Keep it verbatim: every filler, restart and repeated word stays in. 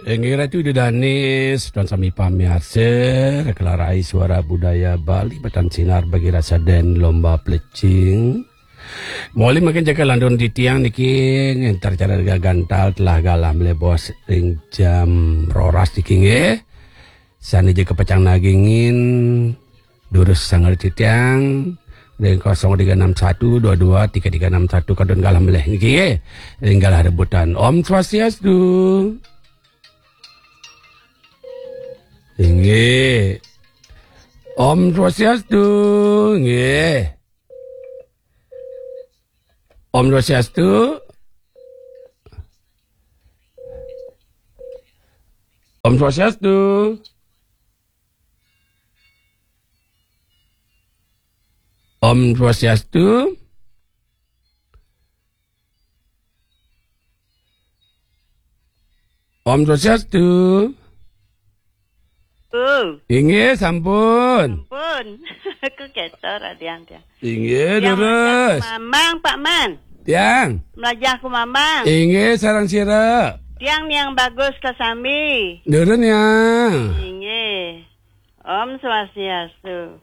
Inggih Ratu Ida Danis, tuan sami pamiarsa, Rekelarai Suara Budaya Bali, Batan Sinar bagi rasa dan lomba pelecing. Moli makin jaga landun titiang niki, ngentar cara gagantal telah galah melebos ring jam roras niki nggih. Sane je kepacang nagingin, durus sangar titiang, ring kosong tiga enam satu dua dua tiga tiga enam satu kadun galah meleh niki nggih. Ring galah rebutan. Om Swastiastu. Inggih. Om Swastiastu. Nggih. Om Swastiastu. Om Swastiastu. Om Swastiastu. Om Swastiastu. Oh, Inggih, sampun. Pun. Aku ketor, Adian, dia. Inggih, Yang terus. Melajah ku Mamang, Pak Man. Tiang. Melajah ku Mamang. Inggih, sareng sira. Tiang yang bagus kasami. Durun, Yang. Inggih. Om Swastiastu.